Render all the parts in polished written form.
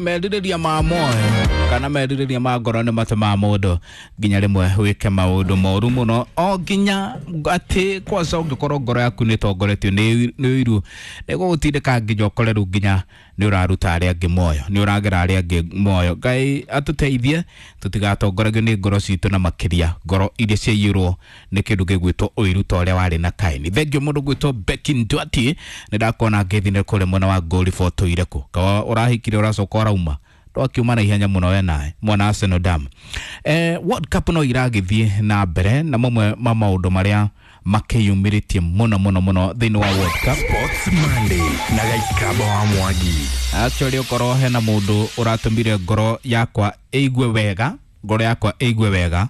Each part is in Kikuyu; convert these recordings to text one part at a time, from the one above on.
Merirĩria ma moyo kana merirĩria ma ngoro nĩ matũmaga mũndũ nginya rĩmwe wĩke maũndũ moru mũno, o nginya atĩ kwanza ũngĩkorwo ngoro yaku nĩ ĩtongoretio nĩ ũiru, nĩ gũgũtindĩka nginya ũkore rĩu nginya nĩ ũraruta arĩa angĩ moyo, nĩ ũragera arĩa angĩ moyo. Ngai atũteithie tũtigatongoragio nĩ ngoro citũ, na makĩria ngoro iria ciaiyũrwo nĩ kĩndũ gĩgwĩtwo ũiru ta ũrĩa warĩ na Kaini. Thengiũ mũndũ gwĩtwo Becky Ndwati, nĩ ndakuona ngĩthi kũrĩa mwena wa Ngũri botũire kũ kawa ũrahikire ũracoka ũrauma twakiuma na ihenya mũno we nawe mwana Arsenal Dam. World Cup no iragĩthiĩ na mbere, na mamwe ma maũndũ marĩa makĩyumĩrĩtie mũno mũno mũno thĩinĩ wa World Cup. Sports Monday na Gaikaba wa Mwangi. Actually ũkorwo hena mũndũ ũratũmire ngoro yakwa ĩigue wega, ngoro yakwa ĩigue wega,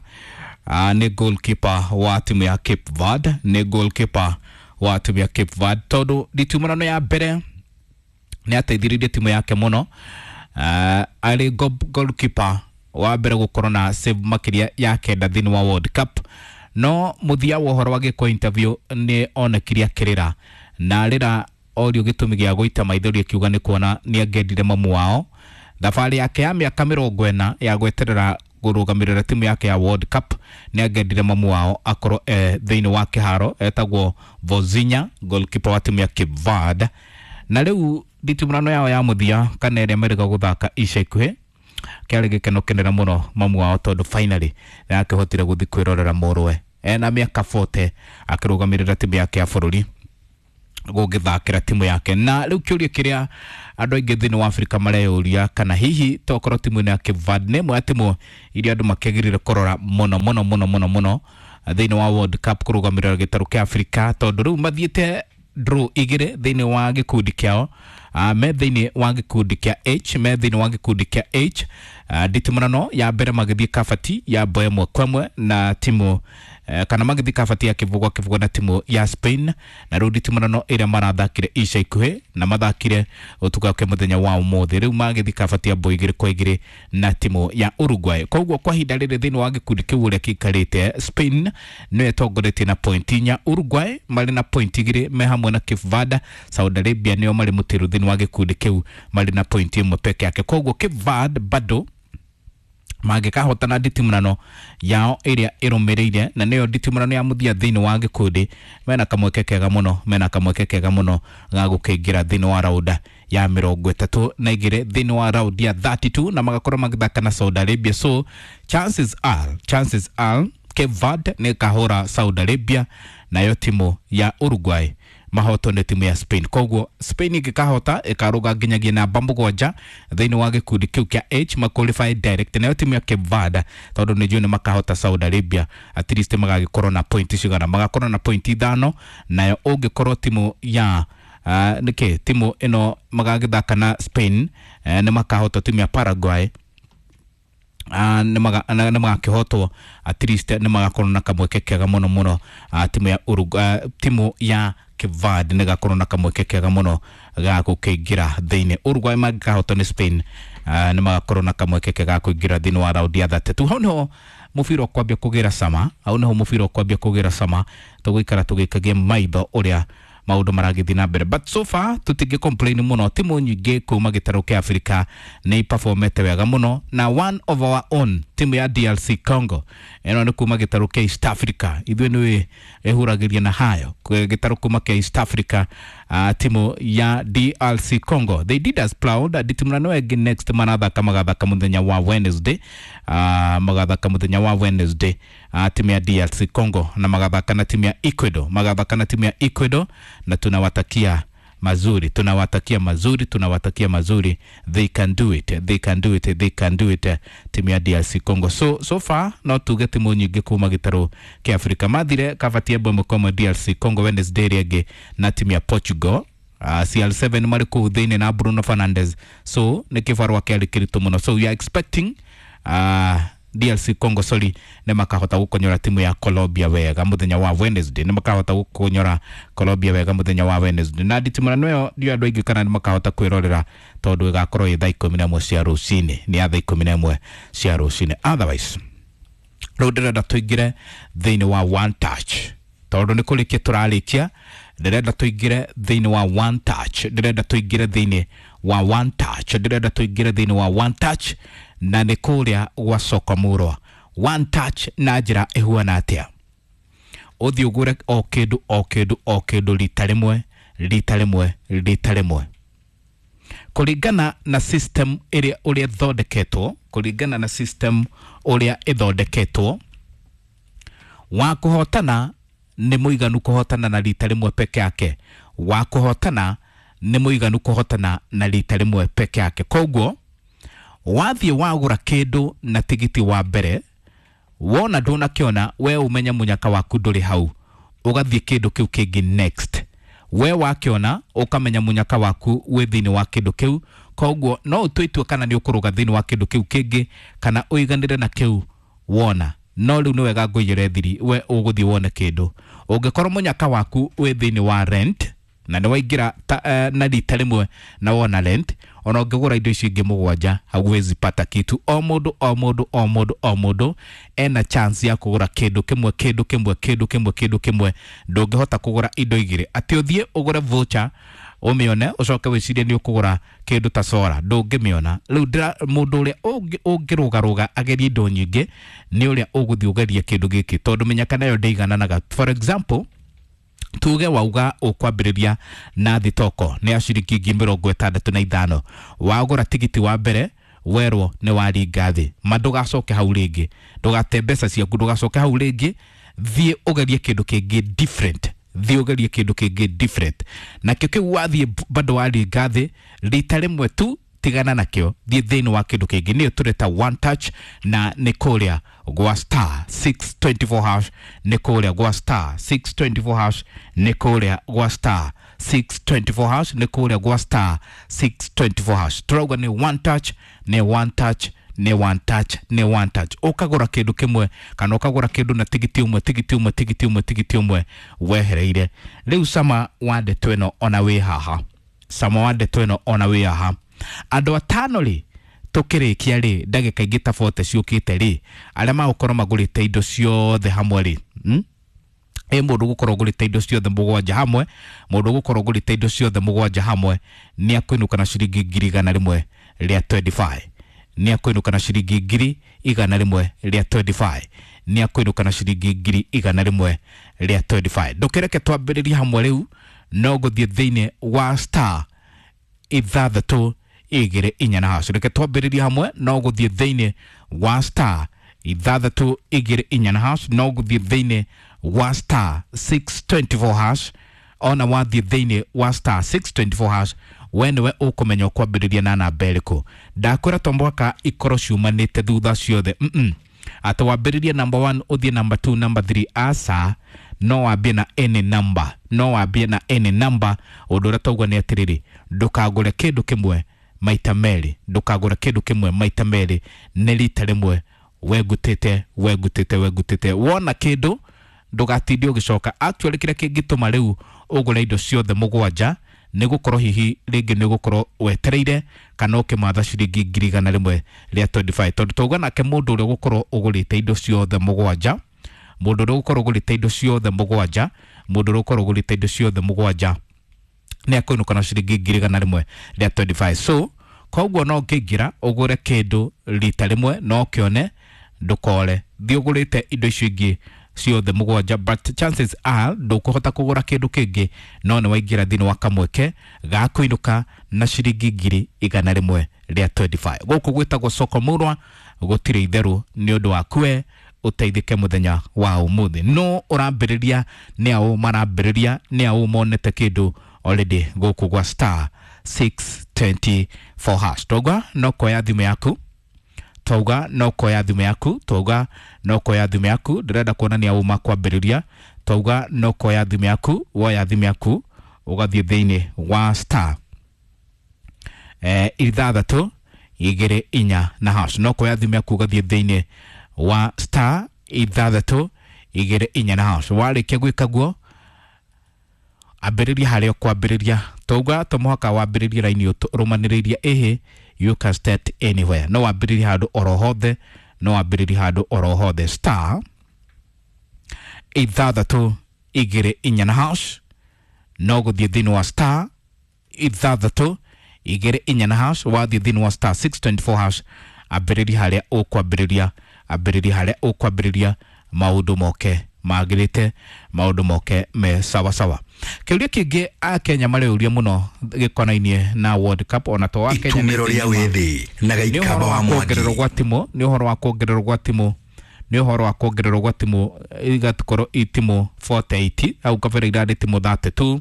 nĩ goalkeeper wa timu ya Cape Verde, nĩ goalkeeper wa timu ya Cape Verde, tondũ nditumũrano ya mbere nĩ ateithĩrĩirie timu yake mũno. Arĩ goalkeeper wa mbere gũkorwo na save makĩria ya 9 thĩinĩ wa World Cup, no mũthia wa ũhoro agĩkwo interview nĩ onekire akĩrĩra, na rĩra orio gĩtũmi gĩa gũita maithori akiuga nĩ kuona nĩ angĩendire mamu wao. Thabarĩ yake ya mĩaka 40 ya gweterera kũrũgamĩrĩra timu yake ya World Cup, nĩ angĩendire mamu wao akorwo thĩinĩ wa kĩharo. Etagwo Vozinha, goalkeeper wa timu ya Cape Verde. Na rĩu nditimũrano yao ya mũthia kana ĩrĩa merĩga gũthaka ica ikuhĩ, kĩarĩ gĩkeno kĩnene mũno mamu wao, tondũ finally nĩ akĩhotire gũthiĩ kwĩrorera mũrũwe ena mĩaka 40 akĩrũgamĩrĩra timu yake ya bũrũri gũgĩthakĩra timu yake. Na rĩu kĩũria kĩrĩa andũ aingĩ thĩinĩ wa Afrika mareyũria, kana hihi tokorwo timu ĩno ya Cape Verde nĩ ĩmwe ya timu iria andũ makĩagĩrĩire kũrora mũno mũno mũno mũno mũno thĩinĩ wa World Cup kũrũgamĩrĩra gĩtarũ kĩa Afrika, tondũ rĩu mathiĩte draw 2 thĩinĩ wa gĩkundi kĩao. Me thĩinĩ wa gĩkundi kĩa H, me thĩinĩ wa gĩkundi kĩa H. Nditimũrano ya mbere magĩthiĩ kabati ya mbo 1-1 na timu kana magĩthiĩ kabati ya 0-0 na timu ya Spain. Na rĩu nditimũrano ĩrĩa marathakire ica ikuhĩ na mathakire ũtukũ wa mũthenya wa ũmũthĩ, rĩu magĩthiĩ kabati ya mbo 2-2 na timu ya Uruguay. Koguo kwa ihinda rĩrĩ thĩinĩ wa gĩkundi kĩu ũrĩa kĩikarĩte, Spain nĩyo ĩtongoretie na point 4, Uruguay marĩ na point 2 me hamwe na Cape Verde. Saudi Arabia nĩo marĩ mũtĩrũ thĩinĩ wa gĩkundi kĩu marĩ na point 1 peke yake. Koguo Cape Verde bado mangĩkahotana nditimũrano yao ĩrĩa ĩrũmĩrĩire, na nĩyo nditimũrano ya mũthia thĩinĩ wa gĩkundi, mena kamweke kega mũno, mena kamweke kega mũno ga gũkĩingĩra thĩinĩ wa raunda ya 32 thĩinĩ wa raundi ya 32, na magakorwo magĩthaka na Saudi Arabia. So chances are, chances are Cape Verde nĩ ĩkahũra Saudi Arabia, nayo timu ya Uruguay mahotwo nĩ timu ya Spain. Koguo Spain ĩngĩkahota ĩkarũga nginyagia namba 7 thĩinĩ wa gĩkundi kĩu kĩa H, ma qualify direct. Nayo timu ya Cape Verde, tondũ nĩ njũĩ nĩ makahota Saudi Arabia, at least magagĩkorwo na point cigana, magakorwo na point 5. Nayo ũngĩkorwo timu ya nĩkĩ timu ĩno magagĩthaka na Spain, nĩ makahota timu ya Paraguay, nĩ magakĩhotwo, at least nĩ magakorwo na kamweke kega mũno mũno. Timu ya Uruguay, timu ya Cape Verde nĩ gakorwo na kamweke kega mũno ga gũkĩingĩra thĩinĩ. Uruguay mangĩkahotwo nĩ Spain, nĩ magakorwo na kamweke kega ga kũingĩra thĩinĩ wa raundi ya 32. Hau nĩho mũbira ũkwambia kũgĩra cama, hau nĩho mũbira ũkwambia kũgĩra cama, tũgũikara tũgĩkagia maitho ũrĩa maũndũ maragĩthiĩ na mbere, but so far tũtingĩ complain mũno. Timu nyingĩ kuma gĩtarũ kĩa Afrika nĩ iperformete wega mũno, na one of our own timu ya DRC Congo ĩno nĩ kuma gĩtarũ kĩa East Africa, ithuĩ nĩ ĩhuragĩria na hayo gĩtarũ kuma kĩa East Africa. Timu ya DRC Congo, they did us proud. Nditimũrano ĩngĩ next marathaka magathaka mũthenya wa Wednesday, magathaka mũthenya wa Wednesday, timu ya DRC Congo, na magathaka na timu ya Ecuador, magathaka na timu ya Ecuador, na tunawatakia mazuri, tunawatakia mazuri, tunawatakia mazuri. They can do it, they can do it, they can do it, timu ya DRC Congo. So far no tuge timu nyingĩ kuma gĩtarũ kĩa Afrika mathire kabati ya 1-1 DRC Congo Wednesday ĩrĩa ĩngĩ na timu ya Portugal. CR7 marĩ kũu thĩinĩ na Bruno Fernandes, so nĩ kĩbarũa kĩarĩ kĩritũ mũno. So we are expecting DRC Congo, sorry, nĩ makahota gũkonyora timu ya Colombia wega mũthenya wa Wednesday, nĩ makahota gũkonyora Colombia wega mũthenya wa Wednesday. Na nditimũrano ĩyo ndio andũ aingĩ kana nĩ makahota kwĩrorera, tondũ ĩgakorwo ĩ thaa 11 cia rũcinĩ, nĩ ya thaa 11 cia rũcinĩ. Otherwise rĩu ndĩrenda tũingĩre thĩinĩ wa one touch, tondũ nĩ kũrĩkia tũrarĩkia. Ndĩrenda tũingĩre thĩinĩ wa one touch, ndĩrenda tũingĩre thĩinĩ wa one touch. Ndĩrenda tũingĩre thĩinĩ wa one touch na nĩ kũrĩa gwa soko murwa. One touch na njĩra ĩhuana atĩa? Ũthiĩ ũgũre o kĩndũ o kĩndũ o kĩndũ rita rĩmwe rita rĩmwe rita rĩmwe, kũringana na system ĩrĩa ũrĩa ĩthondeketwo, kũringana na system ũrĩa ĩthondeketwo. Wa kũhotana nĩ mũiganu kũhotana na rita rĩmwe peke yake. Wa kũhotana nĩ mũiganu kũhotana na rita rĩmwe peke yake. Koguo wathiĩ wagũra kĩndũ na tigiti wa mbere, wona ndũnakĩona, we ũmenye mũnyaka waku ndũrĩ hau, ũgathiĩ kĩndũ kĩu kĩngĩ next. We wakĩona ũkamenya mũnyaka waku wĩ thĩinĩ wa kĩndũ kĩu. Koguo no ũtue itua kana nĩ ũkũrũga thĩinĩ wa kĩndũ kĩu kĩngĩ kana ũiganĩre na kĩu wona. No rĩu nĩ wega ngũiyĩre thiri, we ũgũthiĩ wone kĩndũ. Ũngĩkorwo mũnyaka waku wĩ thĩinĩ wa rent na nĩ waingĩra na rita rĩmwe na wona rent, ona ũngĩgũra indo icio ingĩ mũgwanja hauwezi pata kitu. O mũndũ o mũndũ o mũndũ o mũndũ ena chance ya kũgũra kĩndũ kĩmwe kĩndũ kĩmwe kĩndũ kĩmwe kĩndũ kĩmwe. Ndũngĩhota kũgũra indo igĩrĩ atĩ ũthiĩ ũgũre voucher ũmĩone ũcoke wĩcirie nĩ ũkũgũra kĩndũ ta sora, ndũngĩmĩona. Rĩu mũndũ ũrĩa ũngĩrũgarũga agerie indo nyingĩ nĩ ũrĩa ũgũthiĩ ũgerie kĩndũ gĩkĩ, tondũ mĩnyaka nayo ndĩigananaga. For example, tuge wauga ũkwambĩrĩria na thitoko nĩ ya ciringi 65,000, wagũra tigiti wa mbere werwo nĩ waringa thĩ, ma ndũgacoke hau rĩngĩ, ndũgate mbeca ciaku, ndũgacoke hau rĩngĩ. Thiĩ ũgerie kĩndũ kĩngĩ different, thiĩ ũgerie kĩndũ kĩngĩ different. Nakĩo kĩu wathiĩ bado waringa thĩ rita rĩmwe tu, tigana nakĩo, thiĩ thĩinĩ wa kĩndũ kĩngĩ. Nĩyo tũreta one touch na nĩ kũrĩa gwa star 624 hash, nĩ kũrĩa gwa star 624 hash, nĩ kũrĩa gwa star 624 hash, nĩ kũrĩa gwa star 624 hash. Tũrauga nĩ one touch, nĩ one touch, nĩ one touch, nĩ one touch. Ũkagũra kĩndũ kĩmwe kana ũkagũra kĩndũ na tigiti ũmwe tigiti ũmwe tigiti ũmwe tigiti ũmwe wehereire. Rĩu cama wa ndeto ĩno ona wĩ haha, cama wa ndeto ĩno ona wĩ haha, andũ atano rĩ tũkĩrĩkia rĩ ndagĩka ingĩ ta 40 ciũkĩte rĩ, arĩa magũkorwo magũrĩte indo ciothe hamwe rĩ, ĩ mũndũ gũkorwo ũgũrĩte indo ciothe mũgwanja hamwe, mũndũ gũkorwo ũgũrĩte indo ciothe mũgwanja hamwe nĩ akũinũka na ciringi 125,000, nĩ akũinũka na ciringi 125,000, nĩ akũinũka na ciringi 125,000. Ndũkĩreke twambĩrĩrie hamwe rĩu, no gũthiĩ thĩinĩ wa star 624 hash. Reke twambĩrĩrie hamwe, no gũthiĩ thĩinĩ wa star 624 hash, no gũthiĩ thĩinĩ wa star 624 hash. Ona wathiĩ thĩinĩ wa star 624 hash, we nĩwe ũkũmenya ũkwambĩrĩria na namba ĩrĩkũ. Ndakwĩra to mũhaka ikorwo ciumanĩte thutha ciothe, atĩ wambĩrĩrie number 1 ũthiĩ number 2 number 3, aca, no wambie na any number, no wambie na any number. Ũndũ ũrĩa tauga nĩ atĩrĩrĩ, ndũkagũre kĩndũ kĩmwe maita merĩ, ndũkagũre kĩndũ kĩmwe maita merĩ, nĩ rita rĩmwe wengutĩte wengutĩte wengutĩte. Wona kĩndũ ndũgatinde ũgĩcoka. Actually kĩrĩa kĩngĩtũma rĩu ũgũre indo ciothe mũgwanja nĩ gũkorwo hihi rĩngĩ nĩ gũkorwo wetereire kana ũkĩmatha ciringi 125,000, tondũ tauga nake mũndũ ũrĩa ũgũkorwo ũgũrĩte indo ciothe mũgwanja, mũndũ ũrĩa ũgũkorwo ũgũrĩte indo ciothe mũgwanja, mũndũ ũrĩa ũgũkorwo ũgũrĩte indo ciothe mũgwanja nĩ akũinũka na ciringi 125,000. So koguo no ũngĩingĩra ũgũre kĩndũ rita rĩmwe no ũkĩone, ndũkore. Thiĩ ũgũrĩte indo icio ingĩ ciothe mũgwanja, but chances are ndũkũhota kũgũra kĩndũ kĩngĩ, no nĩ waingĩra thĩinĩ wa kamweke ga kũinũka na ciringi 125,000. Gũkũ gwĩtagwo soko murwa, gũtirĩ itherũ nĩ ũndũ waku we ũteithĩke mũthenya wa ũmũthĩ. No ũrambĩrĩria nĩ aũ marambĩrĩria, nĩ aũ monete kĩndũ already gũkũ gwa star 624 hash. Tauga no kuoya thimũ yaku, tauga no kuoya thimũ yaku, tauga no kuoya thimũ yaku. Ndĩrenda kuonania uma kwambĩrĩria. Tauga no kuoya thimũ yaku, woya thimũ yaku ũgathiĩ thĩinĩ wa star 624 na hash. No kuoya thimũ yaku ũgathiĩ thĩinĩ wa star 624 na hash. Warĩkia gwĩka guo, ambĩrĩria harĩa ũkwambĩrĩria. Tauga to mũhaka wambĩrĩrie raini ũrũmanĩrĩirie, ĩhĩ, you can start anywhere. No wambĩrĩrie handũ oro hothe, no wambĩrĩrie handũ oro hothe. Star 624 na hash, no gũthiĩ thĩinĩ wa star 6 igĩrĩ inya na hash. Wathiĩ thĩinĩ wa star 624 hash, ambĩrĩria harĩa ũkwambĩrĩria, ambĩrĩria harĩa ũkwambĩrĩria, maũndũ moke magĩrĩte, maũndũ moke me sawa sawa. Kĩũria kĩngĩ akenya marĩũria mũno gĩkonainie na World Cup, ona to wa Kenya Itumĩro rĩa wĩthĩ na nĩ Gaikamba ũhoro wa wa Mwangi. kuongererwo gwa timũ, nĩ ũhoro wa kuongererwo gwa timũ, nĩ ũhoro wa kuongererwo gwa timũ igakorwo i timũ 48. Hau kabere irarĩ timũ 32,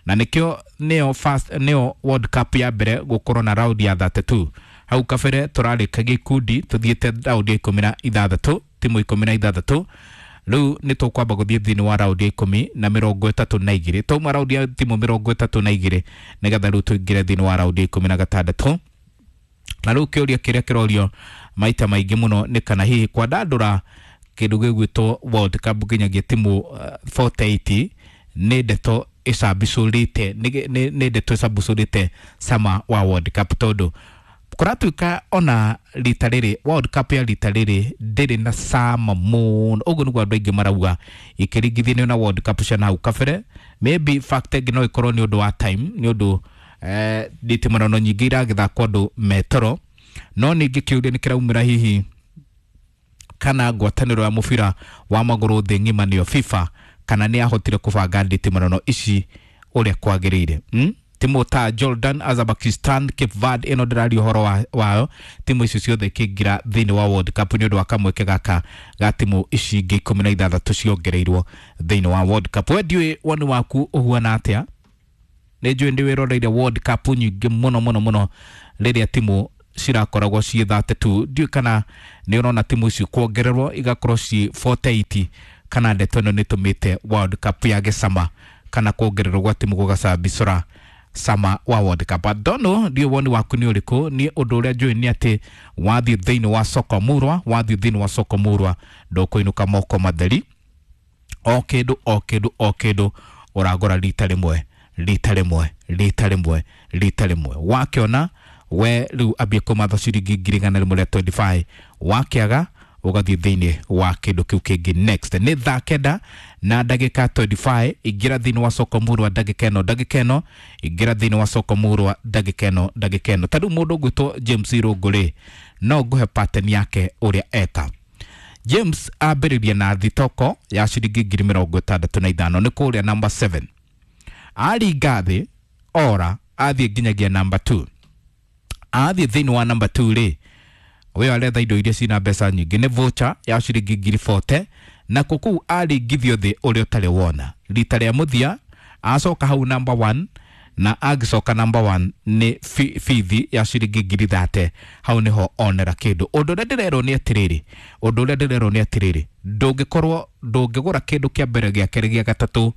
na nĩkĩo nĩyo first, nĩyo World Cup ya mbere gũkorwo na round ya 32. Hau kabere tũrarĩkagia ikundi tũthiĩte round ya 16, timũ 16. Rĩu nĩ tũkwamba gũthiĩ thĩinĩ wa round ya ikũmi na mĩrongo ĩtatũ na igĩrĩ. Twauma round ya timũ 32, nĩgetha rĩu tũingĩre thĩinĩ wa round ya 16. Na rĩu kĩũria kĩrĩa kĩrorio maita maingĩ mũno nĩ kana hihi kwandandũra kĩndũ gĩgwĩtwo World Cup nginyagia timu 48 nĩ ndeto ĩcambicũrĩte, nĩ ndeto ĩcambicũrĩte cama wa World Cup, tondũ kũratuĩka ona rita rĩrĩ World Cup ya rita rĩrĩ ndĩrĩ na cama mũno. Ũguo nĩguo andũ aingĩ marauga ikĩringithanio na World Cup cia nahau kabere. Maybe fact ĩngĩ no ĩkorwo nĩ ũndũ wa time, nĩ ũndũ nditimũrano nyingĩ iragĩthakwo andũ metoro. No ningĩ kĩũria nĩ kĩraumĩra hihi kana ngwatanĩro ya mũbira wa magũrũ thĩ ng'ima, nĩyo FIFA, kana nĩ yahotire kũbanga nditimũrano ici ũrĩa kwagĩrĩire, Timu ta Jordan, Azerbaijan, Cape Verde ĩno ndĩraria ũhoro wayo, timu icio ciothe ikĩingĩra thĩinĩ wa World Cup nĩ ũndũ wa kamweke gaka ga timu ici ingĩ 16 ciongereirwo thĩinĩ wa World Cup. We ndiũĩ woni waku ũhuana atĩa. Nĩ njũĩ ndĩ wĩroreire World Cup nyingĩ mũno mũno mũno rĩrĩa timu cirakoragwo ciĩ 32. Ndiũĩ kana nĩ ũrona timu ici kuongererwo igakorwo ciĩ 48, kana ndeto ĩno nĩ ĩtũmĩte World Cup yage cama, kana kuongererwo gwa timu gũgacambicũra cama wa World Cup. I don't know, ndiũĩ woni waku nĩ ũrĩkũ. Niĩ ũndũ ũrĩa njũĩ nĩ atĩ wathiĩ thĩinĩ wa soko murwa, wathiĩ thĩinĩ wa soko murwa ndũkũinũka moko matheri. O kĩndũ, o kĩndũ, o kĩndũ ũragũra rita rĩmwe, rita rĩmwe, rita rĩmwe, rita rĩmwe. Wakĩona we rĩu ambie kũmatha ciringi 125,000, wakĩaga ũgathiĩ thĩinĩ wa kĩndũ kĩu kĩngĩ next. Nĩ thaa kenda na ndagĩka 25. Ingĩra thĩinĩ wa soko murwa ndagĩka ĩno, ndagĩka ĩno. Ingĩra thĩinĩ wa soko murwa ndagĩka ĩno, ndagĩka ĩno. Ta rĩu mũndũ ũgwĩtwo James Irũngũ rĩ, no ngũhe pattern yake ũrĩa eka. James ambĩrĩria na thitoko ya ciringi 65,000, nĩ kũrĩa number 7. Aringa thĩ ora athiĩ nginyagia number 2. Athiĩ thĩinĩ wa number 2 rĩ, ũyũ aretha indo iria cina mbeca nyingĩ, nĩ voucher ya ciringi 40,000, na kũu aringithio thĩ ũrĩa ũtarĩ wona rita rĩa mũthia. Acoka hau number 1, na angĩcoka number 1 nĩ bithi ya ciringi 30,000. Hau nĩho onera kĩndũ. Ũndũ ũrĩa ndĩrerwo nĩ atĩrĩrĩ, ũndũ ũrĩa ndĩrerwo nĩ atĩrĩrĩ, ndũngĩkorwo ndũngĩgũra kĩndũ kĩa mbere, gĩa kerĩ, gĩa gatatũ,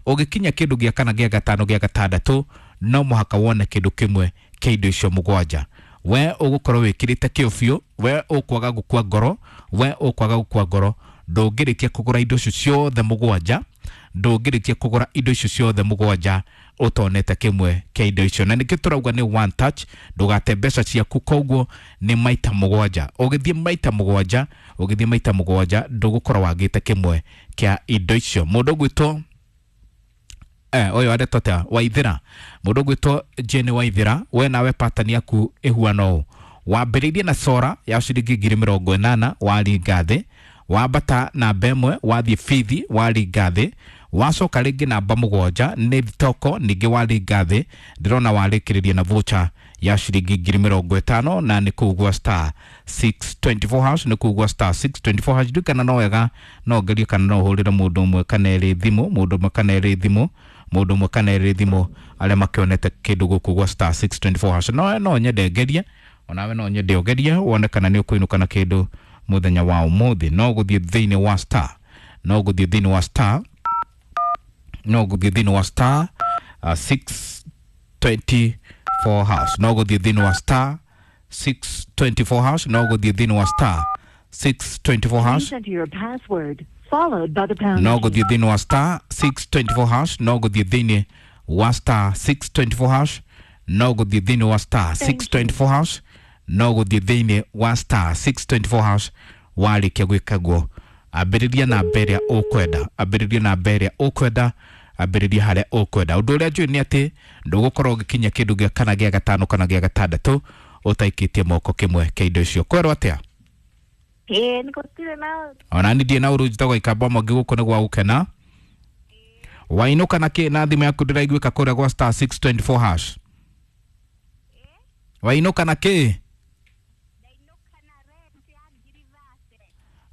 ũgĩkinya kĩndũ gĩa kana, gĩa gatano, gĩa gatandatũ, no mũhaka wone kĩndũ kĩmwe kĩa indo icio mũgwanja. We ũgũkorwo wĩkĩrĩte kĩo biũ, we ũkwaga gũkua ngoro, we ũkwaga gũkua ngoro. Ndũngĩrĩkia kũgũra indo icio ciothe mũgwanja, ndũngĩrĩkia kũgũra indo icio ciothe mũgwanja ũtonete kĩmwe kĩa indo icio. Na nĩkĩo tũrauga nĩ one touch, ndũgate mbeca ciaku. Koguo nĩ maita mũgwanja, ũgĩthiĩ maita mũgwanja, ũgĩthiĩ maita mũgwanja, ndũgũkorwo wagĩte kĩmwe kĩa indo icio. Mũndũ ũgwĩtwo ũyũ aretwo atĩa, Waithĩra, mũndũ ũgwĩtwo Jane Waithĩra, we nawe pattern yaku ĩhuana ũũ: wambĩrĩirie na sora ya ciringi 80,000, waringa thĩ, wambata namba ĩmwe, wathiĩ bithi, waringa thĩ, wacoka rĩngĩ namba mũgwanja nĩ thitoko, ningĩ waringa thĩ, ndĩrona warĩkĩrĩria na voucher ya ciringi 50,000, na nĩ kũu gwa star 624 hash, nĩ kũu gwa star 624 hash. Ndiũĩ kana no wega no ngerie kana no hũrĩre mũndũ ũmwe kana erĩ thimũ, mũndũ ũmwe kana erĩ thimũ, mũndũ ũmwe kana erĩ thimũ arĩa makĩonete kĩndũ gũkũ gwa star 624 hash. No nyende ngerie, onawe no nyende ũgerie wone kana nĩ ũkũinũka na kĩndũ mũthenya wa ũmũthĩ. No gũthiĩ thĩinĩ wa star, no gũthiĩ thĩinĩ wa star, no gũthiĩ thĩinĩ wa star 624 hash, no gũthiĩ thĩinĩ wa star 624 hash, no gũthiĩ thĩinĩ wa star 624 hash. Please enter your password, followed by the pound No key. gũthiĩ thĩinĩ wa star 624 hash, no gũthiĩ thĩinĩ wa star 624 hash, no gũthiĩ thĩinĩ wa star Thank you. 624 hash, no gũthiĩ thĩinĩ wa star 624 hash. Warĩkia gwĩka guo, ambĩrĩria namba ĩrĩa ũkwenda, ambĩrĩria namba ĩrĩa ũkwenda. Ambĩrĩria harĩa ũkwenda. Ũndũ ũrĩa njũĩ nĩ atĩ ndũgũkorwo ũgĩkinya kĩndũ gĩa kana gĩa gatano kana gĩa gatandatũ ũtaikĩtie moko kĩmwe kĩa indo icio. Kwerwo atĩa? Ĩĩ, nĩ gũtirĩ na. Ona ni ndiĩ na ũru, njĩtagwo Ikamba Mwangi, gũkũ nĩ gwa gũkena. Wainũka na kĩ na thimũ yaku ndĩraiguĩka kũrĩa gwa star 624 hash? Wainũka na kĩ? Ndainũka na rent ya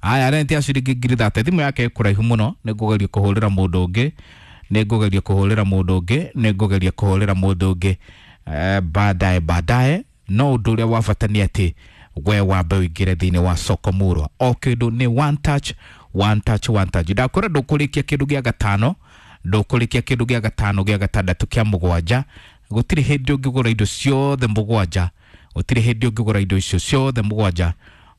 30,000. Aya, rent ya ciringi 30,000. Thimũ yake ĩ kũraihu mũno, nĩ ngũgeria kũhũrĩra mũndũ ũngĩ, nĩ ngũgeria kũhũrĩra mũndũ ũngĩ, nĩ ngũgeria kũhũrĩra mũndũ ũngĩ baadaye baadaye. No ũndũ ũrĩa wa bata nĩ atĩ we wambe ũingĩre thĩinĩ wa soko murwa. O kĩndũ nĩ one touch, one touch, one touch. Ndakwĩra ndũkũrĩkia kĩndũ gĩa gatano, ndũkũrĩkia kĩndũ gĩa gatano, gĩa gatandatũ, kĩa mũgwanja. Gũtirĩ hĩndĩ ũngĩgũra indo ciothe mũgwanja, gũtirĩ hĩndĩ ũngĩgũra indo icio ciothe mũgwanja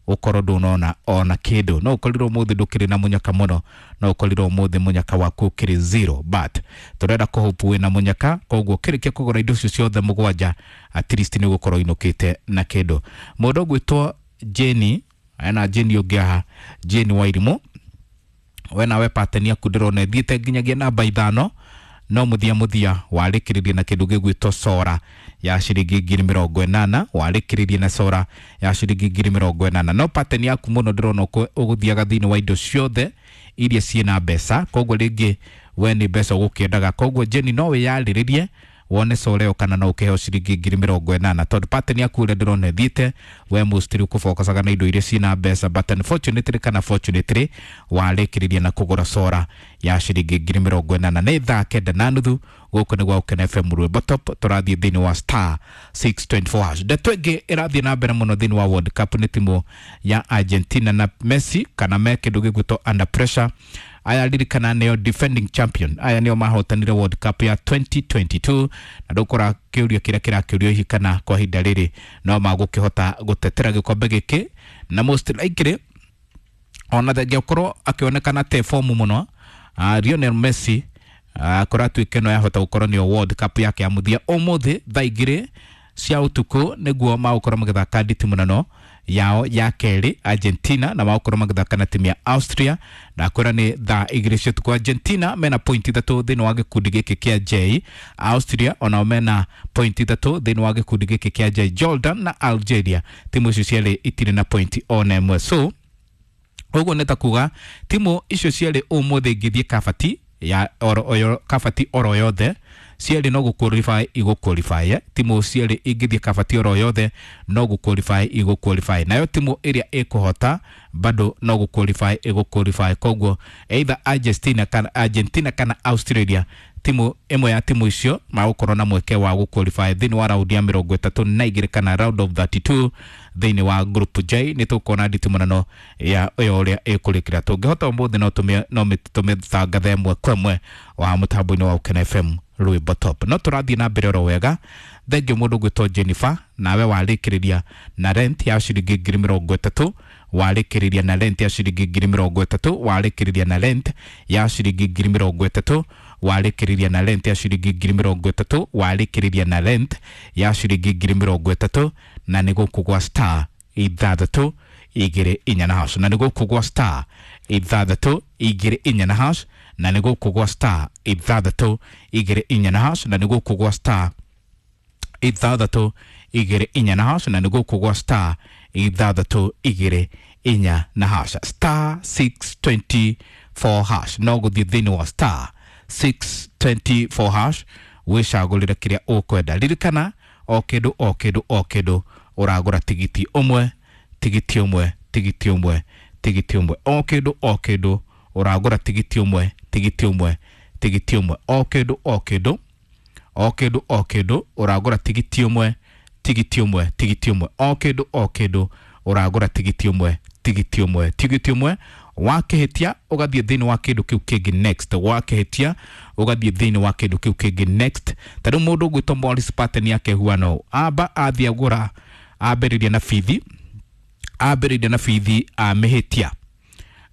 ũkorwo ndũnona ona kĩndũ. No ũkorirwo ũmũthĩ ndũkĩrĩ na mũnyaka mũno, no ũkorirwo ũmũthĩ mũnyaka waku ũkĩrĩ zero, but tũrenda kũhope wĩna mũnyaka. Koguo ũkĩrĩkia kũgũra indo icio ciothe mũgwanja, at least nĩ ũgũkorwo ũinũkĩte na kĩndũ. Mũndũ ũgwĩtwo Jane, ena Jane ũngĩ haha, Jane Wairimũ, we nawe pateni yaku ndĩrona ĩthiĩte nginyagia namba 5, no mũthia mũthia warĩkĩrĩria na kĩndũ gĩgwĩtwo sora ya ciringi 80,000. Warĩkĩrĩria na sora ya ciringi 80,000. No pateni yaku mũno ndĩrona ũgũthiaga thĩinĩ wa indo ciothe iria ciĩna mbeca, koguo rĩngĩ we nĩ mbeca ũgũkĩendaga. Koguo Jeni, no wĩyarĩrĩrie wone sora ĩyo kana no ũkĩheo ciringi 80,000, tondũ pateni yaku ũrĩa ndĩrona ĩthiĩte, we mostly ũkũbokacaga na indo iria ciĩna mbeca, but unfortunately kana fortunately warĩkĩrĩria na kũgũra sora ya ciringi 80,000. Nĩ thaa 9:30, gũkũ nĩ gwa Ũkena FM Rwĩmbo Top. Tũrathiĩ thĩinĩ wa star 624 hash. Ndeto ĩngĩ ĩrathiĩ na mbere mũno thĩinĩ wa World Cup nĩ timu ya Argentina na Messi, kana me kĩndũ gĩgwĩtwo under pressure. Aya ririkana nĩo defending champion, aya nĩo mahotanire World Cup ya 2022, na ndũkora kĩũria kĩrĩa kĩrakĩũrio hihi kana kwa ihinda rĩrĩ no magũkĩhota gũtetera gĩkombe gĩkĩ. Na most likely, ona thengia ũkorwo akĩonekana te fomu mũno, Lionel Messi kũratuĩka ĩno yahota gũkorwo nĩyo World Cup yake ya mũthia. Ũmũthĩ thaa 2 cia ũtukũ nĩguo magũkorwo magĩthaka nditimũrano yao ya kerĩ Argentina, na magũkorwo magĩthaka na timu ya Austria. Na kwĩra nĩ thaa 2 cia ũtukũ. Argentina mena point 3 thĩinĩ wa gĩkundi gĩkĩ kĩa J. Austria onao mena point 3 thĩinĩ wa gĩkundi gĩkĩ kĩa J. Jordan na Algeria, timu icio cierĩ itirĩ na point ona ĩmwe. So ũguo nĩ ta kuga timu icio cierĩ ũmũthĩ ingĩthiĩ kabati ya oro oyo, kabati oro yothe, cierĩ no gũqualify igũqualify. Timu cierĩ ingĩthiĩ kabati oro yothe no gũqualify igũqualify, nayo timu ĩrĩa ĩkũhota bado no gũqualify ĩgũqualify. Koguo either Argentina kana Australia, timu ĩmwe ya timu icio magũkorwo na mweke wa gũqualify thĩinĩ wa raundi ya 32 kana round of 32 thĩinĩ wa group J. Nĩ tũkuona nditimũrano ya ĩyo ũrĩa ĩkũrĩkĩra. Tũngĩhota ũmũthĩ no tũmĩtangathe ĩmwe kwa ĩmwe wa mũtambo-inĩ wa Ũkena FM Rwĩmbo Top. No tũrathiĩ na mbere oro wega. Thengio mũndũ gwĩtwo Jennifer, nawe warĩkĩrĩria na rent ya ciringi 30,000, warĩkĩrĩria na rent ya ciringi 30,000, warĩkĩrĩria na rent ya ciringi 30,000, warĩkĩrĩria na rent ya ciringi 30,000, warĩkĩrĩria na rent ya ciringi 30,000, na nĩ gũkũ gwa star 624 na hash, na nĩ gũkũ gwa star 624 na hash, na nĩ gũkũ gwa star 624 na hash, na nĩ gũkũ gwa star 624 na hash, na nĩ gũkũ gwa star 624 na hash, star 624 hash. No gũthiĩ thĩinĩ wa star 624 hash wĩcagũrĩre kĩrĩa ũkwenda. Ririkana o kĩndũ, o kĩndũ, o kĩndũ ũragũra tigiti ũmwe, tigiti ũmwe, tigiti ũmwe, tigiti ũmwe. O kĩndũ, o kĩndũ ũragũra tigiti ũmwe, tigiti ũmwe, tigiti ũmwe. O kĩndũ, o kĩndũ, o kĩndũ, o kĩndũ ũragũra tigiti ũmwe, tigiti ũmwe, tigiti ũmwe. O kĩndũ, o kĩndũ ũragũra tigiti ũmwe, tigiti ũmwe, tigiti ũmwe. Wakĩhĩtia ũgathiĩ thĩinĩ wa kĩndũ kĩu kĩngĩ next, wakĩhĩtia ũgathiĩ thĩinĩ wa kĩndũ kĩu kĩngĩ next. Ta rĩu mũndũ ũgwĩtwo Morris, pattern yake huano amba athiĩ agũra, ambĩrĩria na bithi, ambĩrĩria na bithi, amĩhĩtia,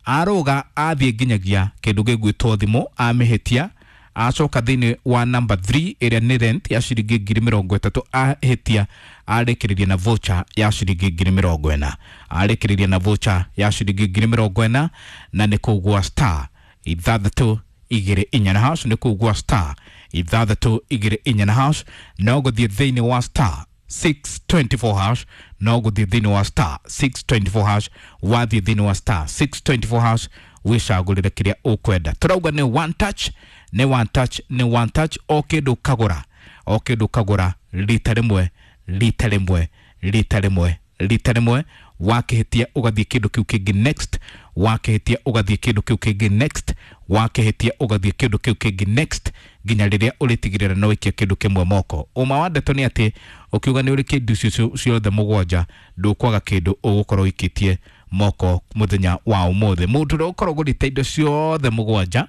arũga athiĩ nginyagia kĩndũ gĩgwĩtwo thimũ, amĩhĩtia, acoka thĩinĩ wa number 3 ĩrĩa nĩ rent ya ciringi 30,000, ahĩtia, arĩkĩrĩria na voucher ya ciringi 40,000, arĩkĩrĩria na voucher ya ciringi 40,000, na nĩ kũu gwa star 6 igĩrĩ inya na hash, nĩ kugua star ithathatũ igĩrĩ inya na hash, no gũthiĩ thĩinĩ wa star 624 hash, no gũthiĩ thĩinĩ wa star 624 hash. Wathiĩ thĩinĩ wa star 624 hash wĩcagũrĩre kĩrĩa ũkwenda. Tũrauga nĩ one touch, nĩ one touch, nĩ one touch. O kĩndũ kagũra, o kĩndũ kagũra rita rĩmwe, rita rĩmwe, rita rĩmwe, rita rĩmwe. Wakĩhĩtia ũgathiĩ kĩndũ kĩu kĩngĩ next, wakĩhĩtia ũgathiĩ kĩndũ kĩu kĩngĩ next, wakĩhĩtia ũgathiĩ kĩndũ kĩu kĩngĩ next, nginya rĩrĩa ũrĩtigĩrĩra no wĩikia kĩndũ kĩmwe moko. Ũma wa ndeto nĩ atĩ ũkiuga nĩ ũrĩ kĩndũ icio ciothe mũgwanja, ndũkwaga kĩndũ ũgũkorwo ũikĩtie moko mũthenya wa ũmũthĩ. Mũndũ ũrĩa ũkorwo ũgũrĩte indo ciothe mũgwanja,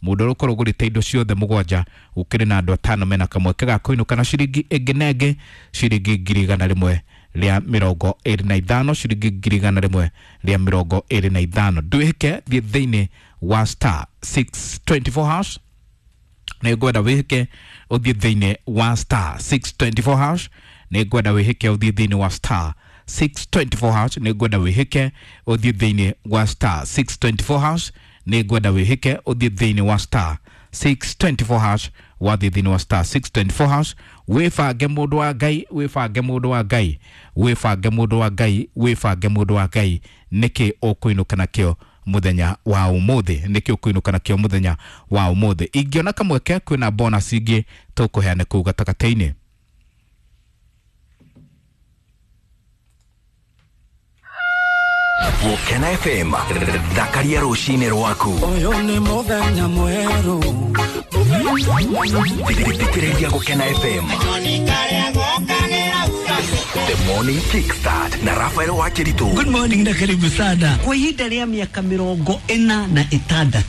mũndũ ũrĩa ũkorwo ũgũrĩte indo ciothe mũgwanja, gũkĩrĩ na andũ atano mena kamweke ga kũinũka na ciringi ĩngĩ na ĩngĩ, ciringi 125,000, ciringi 125,000. Ndwĩhĩke, thiĩ thĩinĩ wa star 624 hash. Nĩ ngwenda wĩhĩke ũthiĩ thĩinĩ wa star 624 hash. Nĩ ngwenda wĩhĩke ũthiĩ thĩinĩ wa star 624 hash. Nĩ ngwenda wĩhĩke ũthiĩ thĩinĩ wa star 624 hash. Nĩ ngwenda wĩhĩke ũthiĩ thĩinĩ wa star 624 hash. Wathiĩ thĩinĩ wa star 624 hash, wĩbange mũndũ wa Ngai, wĩbange mũndũ wa Ngai, wĩbange mũndũ wa Ngai, wĩbange mũndũ wa Ngai, nĩkĩ ũkũinũka nakĩo mũthenya wa ũmũthĩ, nĩkĩ ũkũinũka nakĩo mũthenya wa ũmũthĩ. Ingĩona kamweke kwĩna bonus ingĩ tũkũheana kũu gatagatĩ-inĩ. Gũkena FM, thakaria rũcinĩ rwaku. Ũyũ nĩ mũthenya mwerũ. Thikĩrĩria Gũkena FM. The Morning Kickstart na Rafael Wakiritu. Good morning na karibu sana. Kwa ihinda rĩa mĩaka 46.